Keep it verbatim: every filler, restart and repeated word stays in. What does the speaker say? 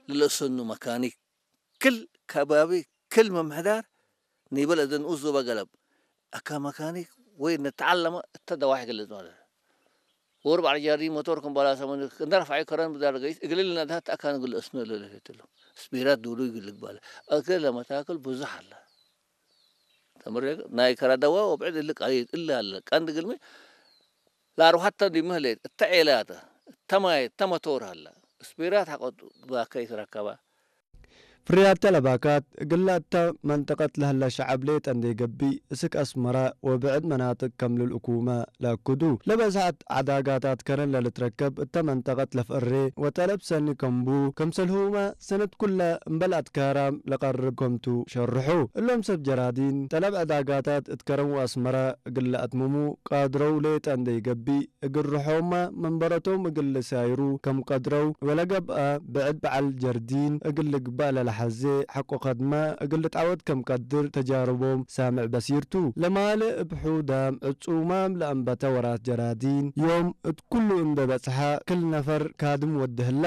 ለለእሰኑ መካኒክ ክል ከባቢ ክል መምሕዳር ኒበል እዘ ንኡስ ዞበ ገለብ አካ መካኒክ ወይ ንተዓለመ እተ ደዋሕ ግልጽ ማለት ወርብ ዐለ ጃርዲ ሞቶር ክም በላሰ ምን እንደ ረፍዐ ከረን ብዳር ገይስ እግል ልነድሀት አካን እግል እስነ ለለፌትሉ ስፒራት ዱሉ ይግል ልግባለ እግል ለመታክል ብዙሕ አለ። ተምሬ ናይ ከረደዋ ወብዕድ እሊ ቀሊል እሊ አለ ቀንድ ግልሚ ለአርወሐተ ዲብ ምህሌት እተ ዔላተ እተ ማየ እተ መቶር ሀለ። ስፒራት ሐቆ ባከይ ትረከበ። ፍርያት ተለባካት እግለ እተ መንጠቀት ለህለ ሸዐብ ሌጠ እንዴ ገብእ፣ እስክ አስመረ ወብዕድ መናጥቅ ከም ልልእኩመ ለአክዱ። ለበዝሐት ዐዳጋታት ከረን ለልትረከብ እተ መንጠቀት ለፍአሬ ወጠለብ ሰኒ ከምቡ፣ ክምሰልሁመ ሰነት ኩለ እምበል አትካራም ለቀርብ ከምቱ ሸርሑ። እሎም ሰብ ጀራዲን፣ ጠለብ ዐዳጋታት እት ከረን ወአስመረ እግል ለአትምሙ ቃድረው ሌጠ እንዴ ገብእ፣ እግል ርሖመ መንበረቶም እግል ልሳይሩ ከም ቀድረው ወለገብአ፣ ብዕድ በዐል ጀርዲን እግል ልግበእ ለለሐዜ ሐቆ ከድመ እግል ልትዐወት ከም ቀድር ተጃርቦም ሳምዕ በሲር ቱ። ለማልእ እብ ሑዳም ዕጹማም ለአንበተ ወራት ጀራዲን ዮም እት ኩሉ እንዴ በጽሐ ክል ነፈር ካድም ወዴ ህለ።